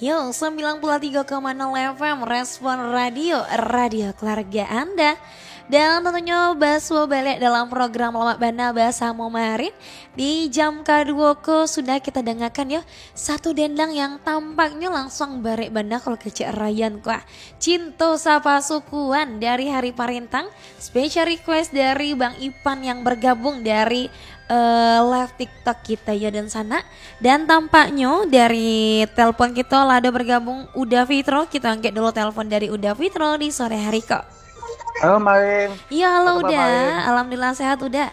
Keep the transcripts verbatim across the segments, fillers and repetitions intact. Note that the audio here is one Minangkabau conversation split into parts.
Yo, sembilan puluh tiga koma nol F M Respon Radio, radio keluarga Anda. Dan tentunya basuo baliak dalam program Lamak Bana basamo Marin. Di jam kaduo ko sudah kita dangakan yo, satu dendang yang tampaknyo langsuang barek bana kalau kecek Rayyan ko ah. Cinto Sapasukuan dari Hari Parintang, special request dari Bang Ipan yang bergabung dari eh, live TikTok kita yo dan sana. Dan tampaknyo dari telepon kita lah ado bergabung Uda Fitro. Kita angkek dulu telepon dari Uda Fitro di sore hari ko. Halo Marin. Iya, halo Apa kabar, Uda. Marin? Alhamdulillah sehat Uda.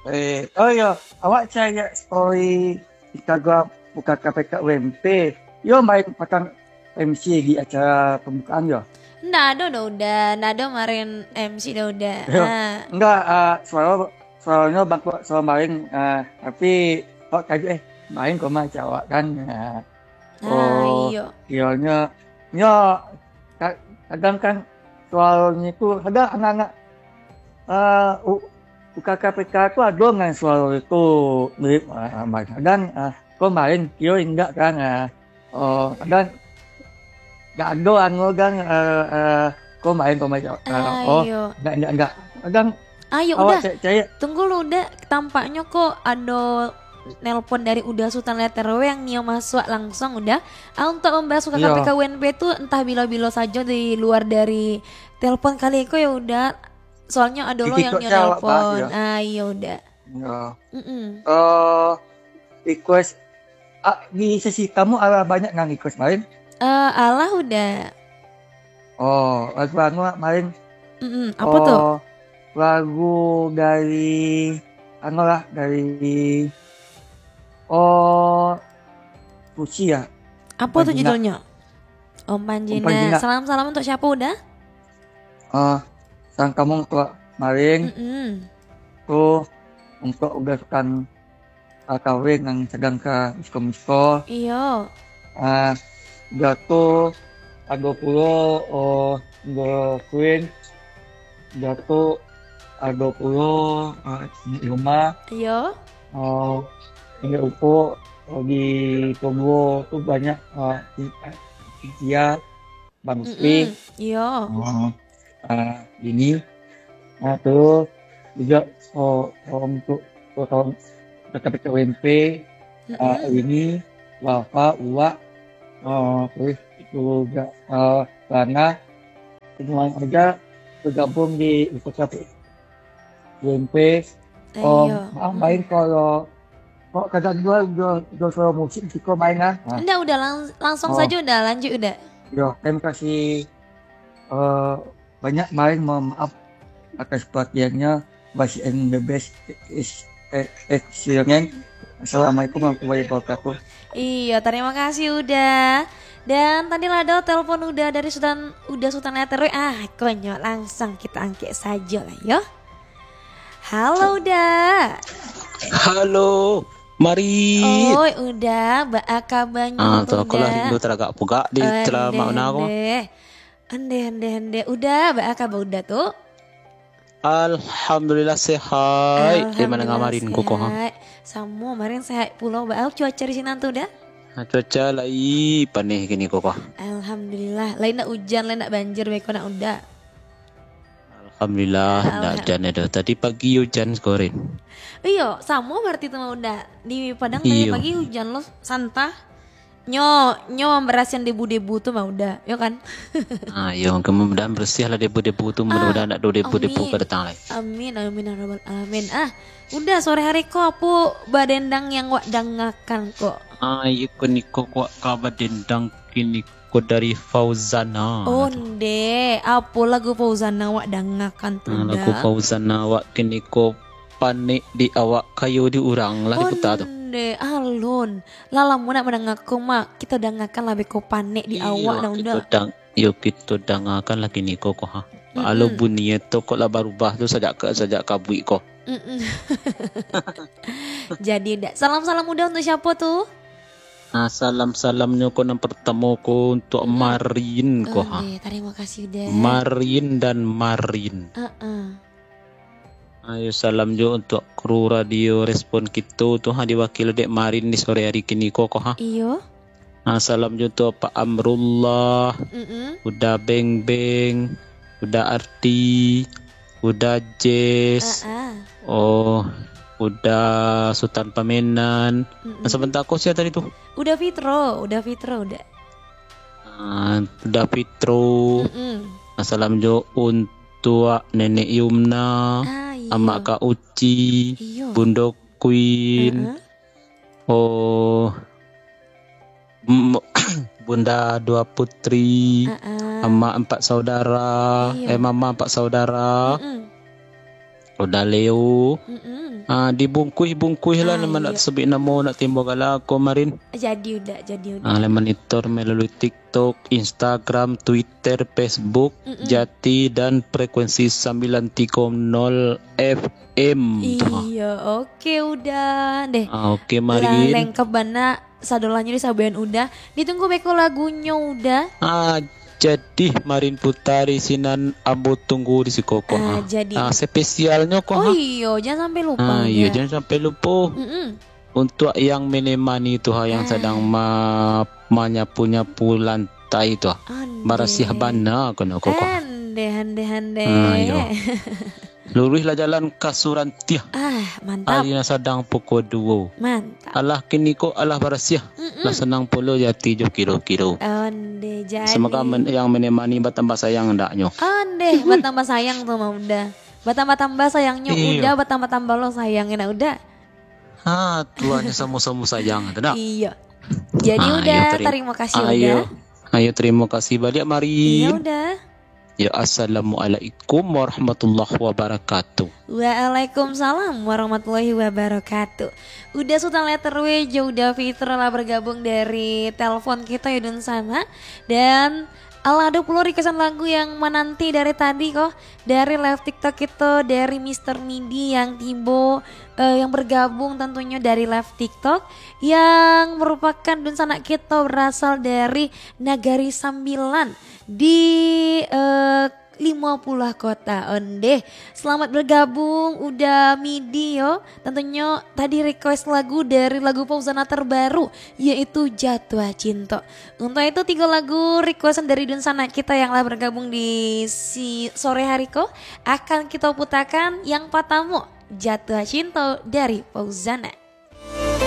Eh, oh ya, awak cari story Instagram bukan K P K U M P. Yo main patang M C di acara pembukaan yo. Ndak ado dah Uda, ndak ado Marin M C dah Uda. Yo. Ah. Enggak, ah, suara suaranya bangkok suara main, ah, tapi kok kaget eh main koma cawak kan. Ah. Ah, iyo. Kiranya nyo ka- kadang kan suaranya tu kadang anak-anak ah, u- bukan K P K tu ada dengan suara itu mirip ah, main. Kadang ah, kok main kira enggak kan. Ah. Oh, kadang enggak ada anu kan eh, eh, kok main kok main. Ah, oh, Ayo. Enggak enggak enggak. Kadang Ayo awak Uda. cek cek Tunggu lu Uda. Tampaknyo kok ado nelpon dari Uda Sultan Letter W yang nio masuk langsuang Uda. Ah, untuk membahas Iya. K P K U M P tu entah bilo-bilo sajo di luar dari telepon kali ko ya Uda. Soalnyo ado lo Di yang TikTok nio cawak bahas, nelpon. Ya. Ah, iyo Uda. Ya. Mm-mm. Eh, request ah, di sesi kamu ada banyak yang request main. Eh, alah Uda. Oh, lagu anu main. Mm-mm. Apa tu? Oh, lagu dari anu lah dari oh Suci ya. Apa tu Panjina. Judulnyo? Om Panjina. Panjina. Salam-salam untuk siapa Uda? Ah, sang kamu untuk main Mm-mm. tu untuk udah sukan ah, kawin yang sedang ke disko-disko. Iyo. Ah, jatuh ado pulo oh, the queen jatuh ado pulo ah, di rumah Iyo. oh, ingat upo oh, di Togo tu banyak ah, di- dia Bang Musfi. Mm-mm. Iyo. Oh, ah, ini ah, terus juga oh, oh, untuk oh, tahun K P K U M P ah, Mm-mm. ini Wafa Uwak oh, terus juga ah, Rana semua aja bergabung di K P K U M P. Oh, Iyo. maaf main kalau kok kadang dua dua dua suara musik siko main ah. Ah. Ndak Uda lang- langsung Oh. saja Uda lanjut Uda. Yo, terima kasih eh, banyak main mohon maaf atas perhatiannya. Basi and the best is eh, eh, silengan. Assalamualaikum warahmatullahi wabarakatuh. Iyo, terima kasih Uda. Dan tadi lah ada telepon Uda dari Sultan Uda Sultan Letter W. Ah, konyol langsung kita angkek saja lah yo. Halo Uda. Halo, Marin. Oi Uda, baa kabanyo Ah, tu tu aku lah Uda? rindu taragak pugak di Ande, telamak una ko. ande. Ande, ande, ande. Uda, baa kaba Uda tu? Alhamdulillah sehat. Di mana Alhamdulillah ngamarin ko ko ha? Sehat. Samo, marin sehat pulo. Baa cuaca di sinan tu Uda? Nah, cuaca lai paneh kini ko ko. Alhamdulillah. Lain nak ujan, lain nak banjir beko nak Uda. Alhamdulillah, Alham- ndak ujan ado. Tadi pagi ujan sekorin. Iyo, samo berarti tu mah Uda. Di Padang tadi Iyo. pagi ujan lo santah. Nyo, nyo memberasihan debu-debu tu mah Uda, yo kan? Ah, yo, mudah-mudahan bersih lah debu-debu tu, mudah-mudahan ndak ada debu-debu Amin. ka datang lai. Amin, amin, ya rabbal alamin. Ah, Uda sore hari ko apo badendang yang wak dangakan ko? Ah, iyo ko niko ko kaba dendang kini ko dari Fauzana. Onde, apo lagu Fauzana wak dangakan tu Ah, lagu Uda? Fauzana wak kini ko panek di awak kayo di urang lah diputa tu. Onde, alun. Lah lamo nak mandanga ko mak, kita dangakan lah beko panek di awak dah Uda. Dang, yo kito dangakan lah kini ko ko ha. Alo bunyi tu kok lah barubah tu sajak ka sajak kabuik ko. Mm-mm. Jadi Uda, salam-salam Uda untuk siapa tu? Nah, salam-salamnyo ko nan pertamo ko untuk Marin ko ha. Onde, terima kasih Uda. Marin dan Marin. Heeh. Ayo salam jo untuk kru radio Respon Kito tu ha, diwakili dek Marin di sore hari kini ko ko ha. Iyo. Ah, salam jo tu Pak Amrullah, Mm-mm. Uda Beng Beng, Uda Arti, Uda Jess, Ah, ah. oh, Uda Sutan Pamenan. Mm-mm. Nah, sabanta ko sia tadi tu? Uda Fitro, Uda Fitro, Uda. Ah, Uda Fitro. Mm-mm. Nah, salam jo untuak Nenek Yumna, Ah, iyo. Amak Kak Uci, Iyo. Bundo Queen, Heeh. oh, mm, Bunda Dua Putri, Heeh. Amak Empat Saudara, Iyo. eh, Mama Empat Saudara, Mm-mm. Uda Leo. Mm-mm. Ah, dibungkuih-bungkuih lah, Ah, nan iyo. nak sebut namo, nak timbo gala ko, Marin. Jadi Uda, jadi Uda. Ah, lai manitor melalui TikTok, Instagram, Twitter, Facebook, Mm-mm. Jati dan frekuensi sambilan tigo nol F M tu. Iyo, oke, Uda deh. Ah, oke, Lah Marin. lengkap bana sadolahnyo disabuikan Uda. Ditunggu beko lagunyo, Uda. Ah, jadi Marin Putari sinan ambo tunggu di siko ko, Ah, ha. jadi. Ah, spesialnyo ko, Oh ha. iyo, jangan sampai lupa, Ah, iyo, Uda. jangan sampai lupa. Mm-mm. Untuak yang menemani tu, ha, yang Ah. sadang ma-, manyapu-nyapu lantai tu, ha. Andeh. Barasiah bana kono ko, ko. Andeh, andeh, andeh. Ah, iyo. Luruihlah jalan ka Surantiah. Ah, mantap. Ari nan sadang pukua duo. Mantap. Alah kiniko alah barasiah. Mm-mm. Lah sanang pulo jati jo kiro-kiro. Andeh, jadi. Semoga men-, yang menemani batambah sayang andaknyo. Andeh, batambah sayang tu mah Uda. Batambah-tambah sayangnyo Iyo. Uda, batambah-tambah lo sayang nak Uda. Ha, tuannya samo-samo sayang tu nak. Iyo. Jadi Ah, Uda, iyo, teri-, tarimo kasih ayo. Uda. Ayo, terima kasih banyak, Marin. Iyo, Uda. Ya, assalamualaikum warahmatullahi wabarakatuh. Waalaikumsalam warahmatullahi wabarakatuh. Uda Sultan Letter W jo Uda Fitro lah bergabung dari telepon kita ya, Dun Sana. Dan alah, ado pulo requestan lagu yang menanti dari tadi ko. Dari live TikTok kita, dari Mister Midi yang tibo, eh, yang bergabung tentunya dari live TikTok. Yang merupakan Dun Sanak kita berasal dari Nagari Sambilan di, eh, Limo Puluh Kota. Ondeh, selamat bergabung, Uda Midi yo. Tentunya tadi request lagu dari lagu Fauzana terbaru, yaitu Jatuh Cinta. Untuk itu, tiga lagu requestan dari Dun Sanak kita yang lah bergabung di si sore hari ko akan kita putakan. Yang pertama, Jatuh Cinta dari Fauzana.